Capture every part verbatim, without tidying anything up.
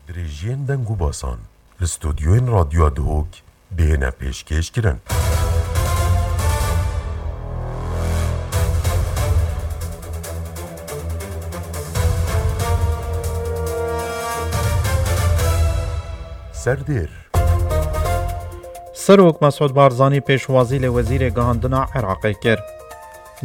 Dirêjiyên deng û basan li stûdyoyên Radyoya Duhok bihêne pêşkêş kirin. Serdêr. Serok Mesûd Barzanî pêşwazî li Wezîrê Gihandina Iraqê kir.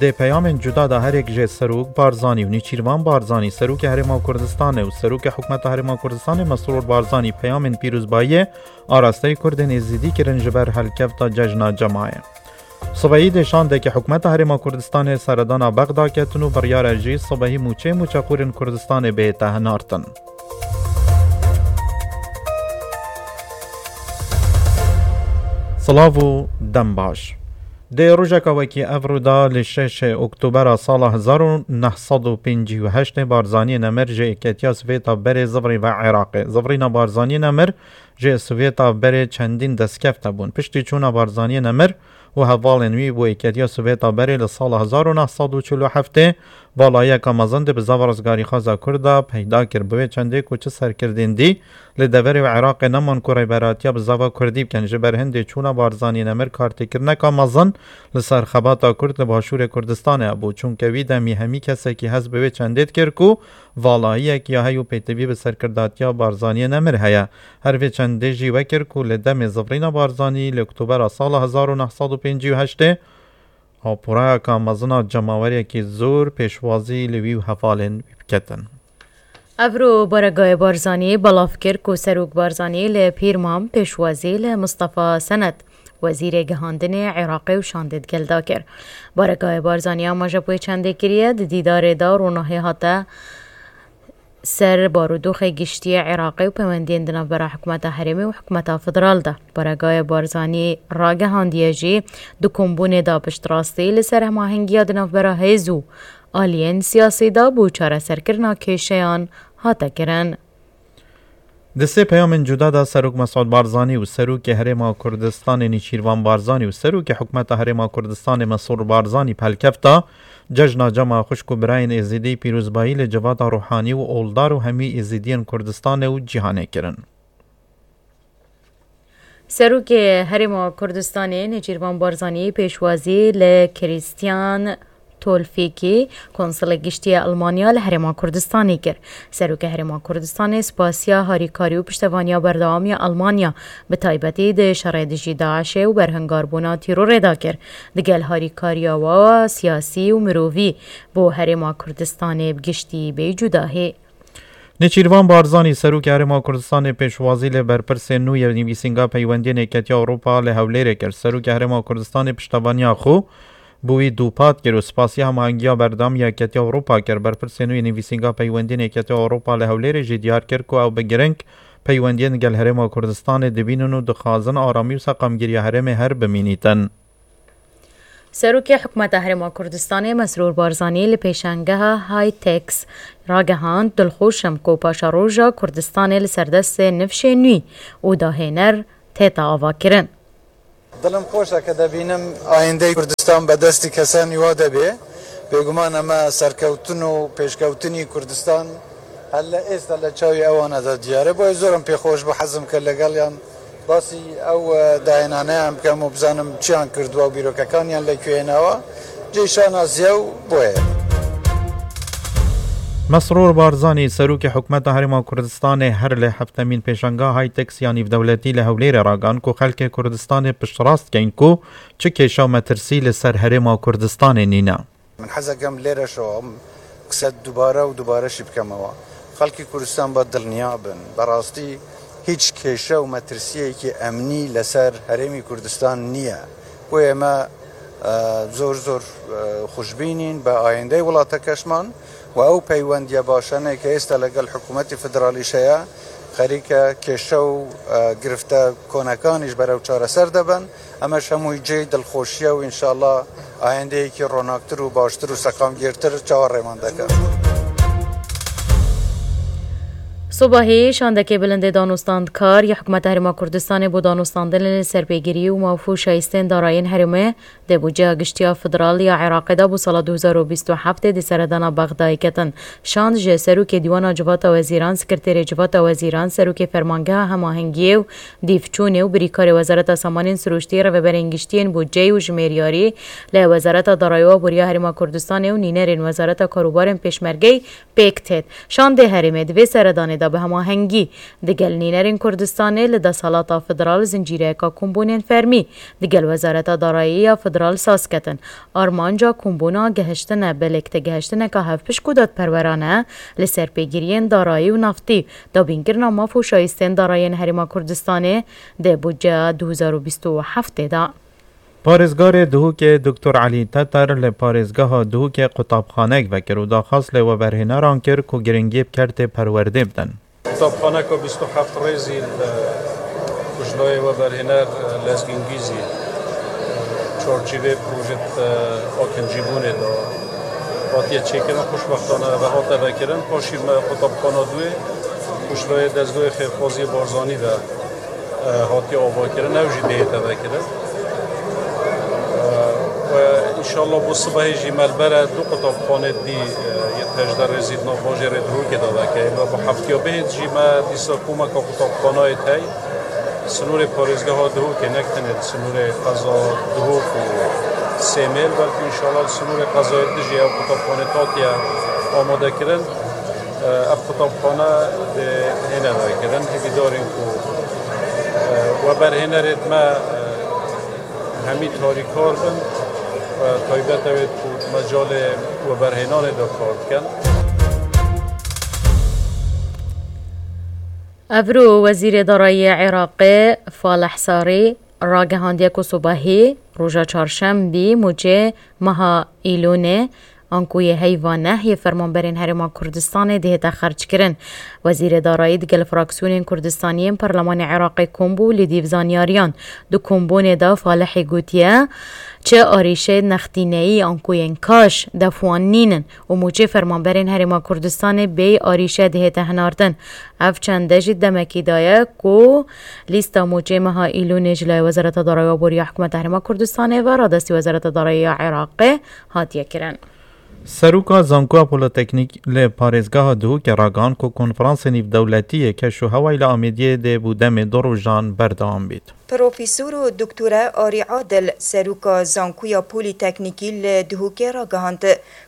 Di peyamên cuda de her yek jê Serok Barzanî û Nêçîrvan Barzanî, Serokê Herêma Kurdistanê û Serokê Hikûmeta Herêma Kurdistanê Mesrûr Barzanî peyamên pîrozbayiyê arasteyî Kurdên Êzidî kirin ji ber helkefta Cejna Cemayê. Sibehî dê şandeke Hikûmeta Herêma Kurdistanê seredana Bexda ketin û biryar e jî sibehî mûçeyê mûçexûrên Kurdistanê bihête hinartin. Silav û dem baş. Di rojeka wekî evro de li şeş Oktobera sala hezar û neh sed û pêncî û heştê Barzaniyê Nemir ji Êketiya Sovêta berê zivrî ve Iraqê. Zivrîna Barzaniyê Nemir ji Sovêta berê çendîn destkeft hebûn. Piştî çûna Barzaniyê Nemir û hevalên wî bo Êketiya Sovêta berê li sala hezar û neh sed û çil û heftê, valayiyeka mezin di bizava rizgarîxwaza Kurd de peyda kir. Bi wê çendê ku çi serkirdên dî li deverê û Iraqê neman ku rêberatiya bizava Kurdî bikin. Ji ber hindê çûna Barzanî Nemir kartêkirineka mezin li ser xebata Kurd li Başûrê Kurdistanê hebû. Çunke wî demî hemî kesekî hest bi wê çendê dikir ku valayiyek ya hey û pêtivî bi serkirdatiya Barzaniyê Nemir heye. Her vê çendê jî wekir ku li demê zivrîna Barzanî li Oktobera sala hezar û neh sed û pêncî û heştê, aporayeka mezin a cemaweriyekî zor pêşwazî li wî û hevalên wî biketin. Evro Baregayê Barzanî belav kir ku Serok Barzanî li Pîrmam pêşwazî li Mistefa Senet, Wezîrê Gihandinê Iraqê û şandê digel da kir. Baregayê Barzanî amaje bi wê çendê kiriye, di dîdarê de ronahî hate ser barûdoxê giştî yê Iraqê û peywendiyên di navbera hikûmeta herêmê û hikûmeta federal de. Baregayê Barzanî ragihandiye jî, di kombûnê de piştrastî li ser hemahengiya di navbera hêz û aliyên siyasî de bo çareserkirina kêşeyan hate kirin. Di sê peyamên cuda de Serok Mesûd Barzanî û Serokê Herêma Kurdistanê Nêçîrvan Barzanî û Serokê Hikûmeta Herêma Kurdistanê Mesrûr Barzanî pelkefta Cejna Cema xwişk û birayên Êzidî pîrozbayî li civata ruhanî û oldar û hemî Êzidiyên Kurdistanê û cîhanê kirin. Serokê Herêma Kurdistanê Nêçîrvan Barzanî pêşwazî li Krîstiyan Tolfîkî, Konsulê Giştî yê Elmanya li Herêma Kurdistanê kir. Serokê Herêma Kurdistanê spasiya harîkarî û piştevaniya berdewam ya Elmanya, bi taybetî di şerê dijî DAIŞê û berhingarbûna tîrorê de kir. Digel harîkariya wa siyasî û mirovî bo Herêma Kurdistanê bi giştî bê cudahî. Nêçîrvan Barzanî, Serokê Herêma Kurdistanê pêşwazî li berpirsên nû yê Nivîsînga Peywendiyên Yeketiya Ewropa li Hewlêrê kir. Serokê Herêma Kurdistanê piştevaniya xwe bo wî dûpat kir û spasiya hemahengiya berdewam ya Yeketiya Ewropa kir. Berpirsên nû yê Nivîsînga Peywendiyên Yeketiya Ewropa li Hewlêrê jî diyar kir ku ew bi giring peywendiyên gel Herêma Kurdistanê dibînin û dixwazin aramî û seqamgiriya herêmê her bimînîtin. Serokê Hikûmeta Herêma Kurdistanê Mesrûr Barzanî li pêşangeha Hitex ragihand, dilxweş im ku paşeroja Kurdistanê li ser destê nifşê nû û dahêner tête avakirin. Dilim xweş e ke debînim ayîndeyê Kurdistan be destî kesan nû de bê. Bêguman em e serkewtin û pêşkewtinî Kurdistan helle êsta li çavê ewan e de diyar e. Boye zor im pê xweş bû, hezim ke legel yan basî ew, e, dayînane em bikim û bizanim çiyan kirduwa û bîrokekan yan li ku hênawa. Cê şanaziye û boye. Mesrûr Barzanî, Serokê Hikûmeta Herêma Kurdistanê her li heftemîn pêşangeha Hitex ya nîvdewletî li Hewlêrê ragihand ku xelkê Kurdistanê piştrast dikein ku çi kêşe û metirsî li ser Herêma Kurdistanê nîne. Min hez dikim lêre şo, em qise dubare û dubare jî bikemewa. Xelkê Kurdistan ba dilniya bin. Berastî hîç kêşe û metirsiyekî emnî li ser herêmî Kurdistan niye. Boye me, e, zor zor, e, xweşbînîn bi ayîndeyê welatekeşman û ew peywendiye başane ke êsta legel hikûmetê federalî şeye, xerîke kêşe û, e, girifte konekanî ji ber ew çareser debin. Em e ji hemûyî cihê dilxweşiye û înşallah ayendeyekî ronaktir û baştir û seqamgirtir çawa rêman deke. Sobahî şandekê bilindê danûstandkar ya Hikûmeta Herêma Kurdistanê bo danûstandinê li ser pêgirî û maf û şayîstên darayên herêmê di budceya giştî ya federal ya Iraqê de bo sala du hezar û bîst û heftê di seredana Bexdayê ketin. Şand ji Serokê Dîwana Civata Wezîran, Sekreterê Civata Wezîran, Serokê Fermangeha Hemahengiyê û Dîvçûnê û birîkarê Wezareta Samanên Sirûştî, Rêveberên Giştî yên Budceyî û Jimêriyarî li Wezareta Darayî û Aboriya Herêma Kurdistanê û nînerên Wezareta Karûbarên Pêşmergeyî pêk têt. Şandê herêmê di vê seredanê de bi hemahengî digel nînerên Kurdistanê li desthilata federal zincîreyeka kombûnên fermî digel Wezareta Darayî ya federal saz ketin. Armanca kombûna gehiştine bi lêktegehiştineka hevpişk û dadperwerane li ser pêgiriyên darayî û naftî, dabînkirina maf û şayîstên darayên Herêma Kurdistanê di budceya du hezar û bîst û heftê de. Parêzgarê Duhokê Doktor Elî Teter li parêzgeha Duhokê qutabxanek vekir û daxwaz li weberhêneran kir ku giringî bi kertê perwerdê bidin. Qutabxaneka bîst û heft rêzî li, ku ji layê weberhêner Lezgîn Gîzî çarçîvê projê, e, akincîbûnê de hatiye çêkirin, xweşbextane ev hate vekirin. Paşî me qutabxana duyê, ku ji layê Dezgehê Xêrxwaziyê Barzanî ve e, hatiye avakirin, ew jî dihête vekirin. E, we înşallah bo sibehê jî me li bere du qutabxanê dî, e, yê hejdeh rêzî di nav bajêrê Duhokê de veke. Ê me bo heftiya bihêt jî me dîsa komeka qutabxanayê tey. Sinûrê parêzgeha Duhokê, nek tenê li sinûrê qeza Duhok û Sêmêl, belkî înşallah li sinûrê qezayê din jî ew qutabxanê hatiye amadekirin. Ev qutabxane dê hêne vekirin. Hêvîdar in ku, e, weberhênerêd me, e, hemî tarîkar bin, e, taybet ew ê ku di mecalê weberhênanê de kar dikin. Evro Wezîrê Darayî Iraqê Falih Sarî ragihandiye ku sobahî roja çarşembî mûçê meha Îlûnê anku yê heyva neh yê fermanberên Herêma Kurdistanê dihête xerckirin. Wezîrê Darayî digel fraksiyonên Kurdistanî yên Perlemanê Iraqê kom bû li dîv zanyariyan. Di kombûnê de Falihî gotiye, çi arîşeyê nextîneyî anku yên kaş def wan nînin û mûçê fermanberên Herêma Kurdistanê bêyî arîşe dihête hinardin. Ev çende jî demekî daye ku lîsta mûçê meha Îlûnê ji layê Wezareta Darayî û Aboriya Hikûmeta Herêma Kurdistanê ve radestî Wezareta Darayî ya Iraqê hatiye kirin. Seroka Zankoya Polîteknîk li parêzgeha Duhokê ragihand ku konferansê nîvdewletî yê keş û hewayî li Amêdiyê dê bo demê du rojan berdewam bît. Profesor û Doktore Arî Adil, Seroka Zankoya Polîteknîkî li Duhokê ragihand,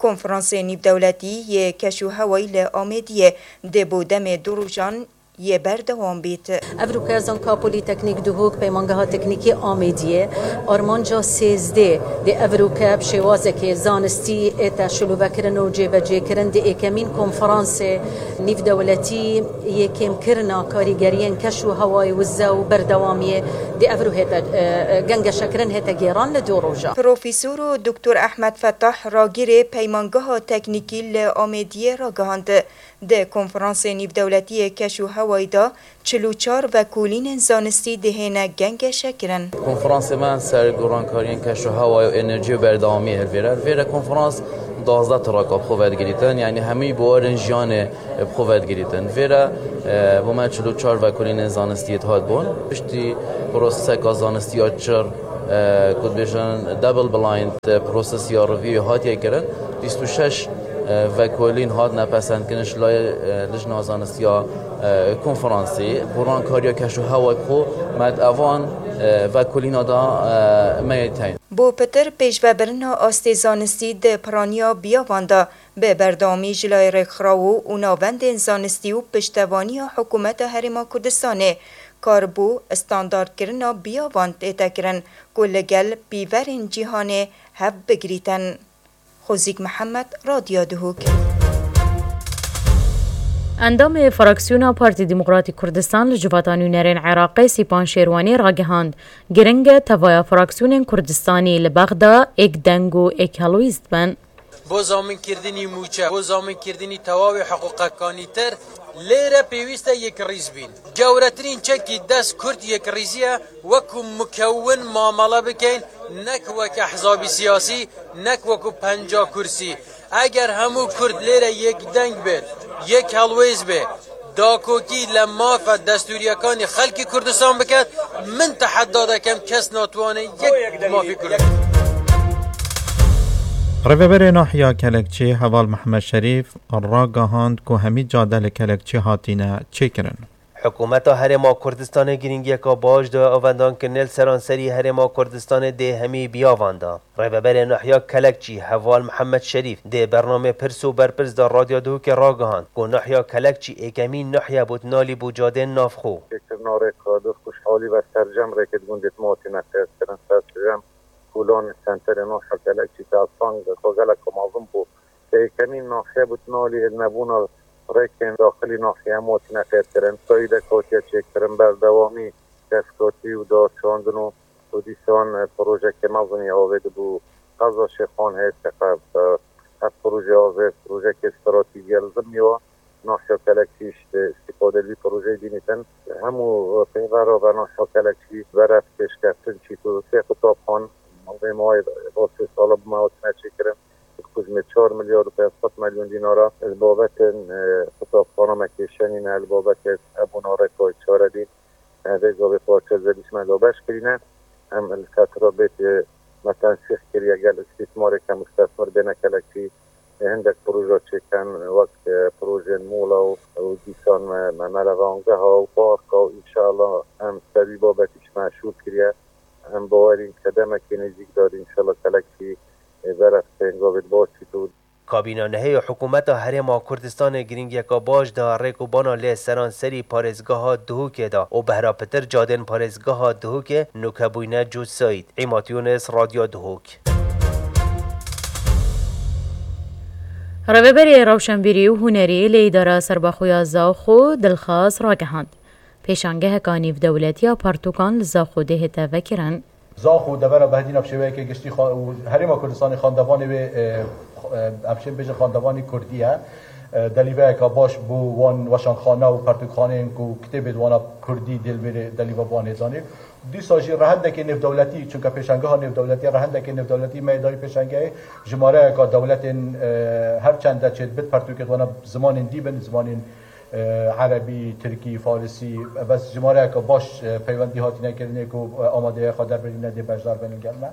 konferansê nîvdewletî yê keş û hewayî li Amêdiyê dê bo demê du rojan yê berdewam bît. Evroke Zanka Polîteknîk Duhok Peymangeha Teknîkî Amêdiyê armanca sêzdê dê evroke bi şêwazekê zanistî ête şilovekirin û cêbecêkirin di êkemîn konferansê nîvdewletî yê kêmkirina karîgeriyên keş û hewayê wize û berdewamiyê dê evro hête, e, e, gengeşekirin hête gêran li du roja. Profesor û Doktor Ehmed Fetah ragirê Peymangeha Teknîkî li Amêdiyê ragihand, di konferansê nîvdewletî yê keş û hewayî de çil û çar vekolînên zanistî dihêne gengeşekirin. Konferansê me ser gorankariyên keş û hewayê û enerjiyê û berdewamiyê hilvêre. Vêre konferans duwazdeh traka bi xwe vedigirîtin, yanî hemî buwarên jiyanê bi xwe vedigirîtin. Vêre, e, bo me çil û çar vekolînên zanistî yê dihat bûn. Piştî proseseka zanistî ya çir, e, ku dibêjin double blind, e, prosesiya review hatiye kirin. Bîst û şeş e, vekolîn hatine pesendkirin ji layê, e, Lijna Zanistiya, e, Konferansê. Gorankariya keş û hewayê xwe me di evan, e, vekolîna de, e, me yê teyn. Bo pitir pêşvebirina astê zanistî di piraniya biyavan de bi berdewamî ji layê rêkxirawo û navendên zanistî û piştevaniya Hikûmeta Herêma Kurdistanê kar bo standardkirina biyavan tête kirin ku li gel pîverên cîhanê hev bigirîtin. Xozîk Mihemed, Radyo Duhok. Endamê fraksiyona Partî Demokratîk Kurdistan li Civata Nûnerên Iraqê Sîpan Şêrwanî ragihand, giring e tevaya fraksiyonên Kurdistanî li Bexda êk deng û êk helwîst bin. Bo zaminkirdinî mûçe, bo zaminkirdinî tewawê hiqûqekanî tir, lêre pêwîst e yekrîz bîn. Gewretirîn çekî dest Kurd yekrîziye, wekû mukewin mamele bikeyn, nek wek ehzabî siyasî, nek wekû penca kursî. Eger hemû Kurd lêre yekdeng bê, yek helwêz bê, Dakokî li mafa destûriyekanê xelkê Kurdistan biket, min tehedda dekem, kes natwane yek mafê Kurd. Rêveberê Nahiya Kelekçî Heval Mihemed Şerîf ragihand ku hemî cade li Kelekçî hatîne çêkirin. Hikûmeta Herêma Kurdistanê girîngiyeka baş daye avendankirinê li seranserî Herêma Kurdistanê dê hemî biyavan de. Rêveberê Nahya Kelekçî Heval Mihemed Şerîf dê bernamê Pirs û Berpirs de Radyo Duhokê ragihand ku Nahya Kelekçî êkemîn nahye bû di nalî bû cadên navxwe. Çêkirina rêka duh xweşhalî ve sercem rêkê di gundê Timatî me têr kirin, sercem kolanê senterê Nahya Kelekçî ke ez bang xwe gelek mezin bû. Êkemîn nahye bû di nalî hilnebûna rêkên daxilî nahye em hatine têr kirin. Sayîdek hatiye çêkirin, berdewamî destgotî û daşandin û û dîsan, e, projeke mezin ya avê dibû qeza Şêxan heye teqe, e, ev proje avê projeke stratejî ye li zimnî wa. Nahya Kelekçî ji îstîfade li vî projeyê dînîtin. Hemû, e, pêvera ve Nahya Kelekçî beref pêşkeftin çît û sê qutabxan, maldê mawê sê sala bi me hatine çêkirin. Ku ji me çar milyar û pênc sed milyon dînara li babetên, e, qutabxana me kêşenî ne, li babetên hebûna rêka çaredîn. Vê gavê parçe zedîş me da beş kirîne. Em li fetra bêt, e, me tensîq kiriye gel îstîsmarê ke mustesmir bêne Kelekçî, e, hindek proje çêken, wek, e, projeyên mola û, û dîsan me, me melevangeha û parka û înşallah em ser wî babetî ji me şûl kiriye. Em bawerîn ke demekê nêzîk de înşallah Kelekçî, e, beref tên gavê di baş çît û Kabîna nehê ya Hikûmeta Herêma Kurdistanê girîngiyeka baş da rêk û bana lê seranserî parêzgeha Duhokê da û behra pitir cadên parêzgeha Duhokê nûke bûyne cût sayîd. Îmat Yûnis, Radyo Duhok. Rêveberê Rewşenbîrî û Hunerî li Îdara Serbexwe ya Zaxo Dilxaz ragihand, pêşangeheka nêvdewletî ya pertûkan li Zaxo dê hête vekirin. Zaxo devera Behdîna bi şêweyeke giştî xwe û Herêma Kurdistanê xandevanê wê, e, e, em şên bêjin xandevanî kurdî ye. E, delîveyeka baş bo wan weşanxane û pertûkxaneyên ku kitêbê di wana kurdî dê li vê delîva bi wan hêzanî. Dîsa jî rehendekê nêvdewletî, çunke pêşangeha nêvdewletî, rehendekê nêvdewletî me yê dayî pêşangehê jimareyeka dewletên, e, her çend de çêdibit pertûkê di wana zimanên dî bin, zimanên e, erebî, tirkî, farisî, bes jimareyeke baş, e, peywendî hatine kirinê ku, e, amadeya xwe derbirîne dê beşdar bin gel me.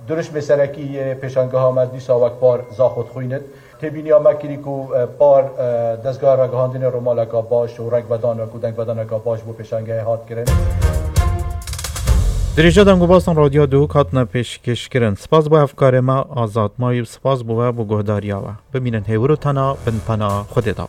Durişmê serekî yê pêşangeha me dîsa wek par Zaxo dixwînit. Têbîniya me kirî ku, e, par, e, dezgeha ragihandinê romaleka baş û rengvedan ku dengvedaneka baş bo pêşangehê hat kirin. Dirêja deng û basan Radyo Duhok hatine pêşkêşkirin. Spas bo hevkarê me Azad Mayî û spas bo we bo guhdariya we. Bimînin hêwir û tena bin pena Xwedê de.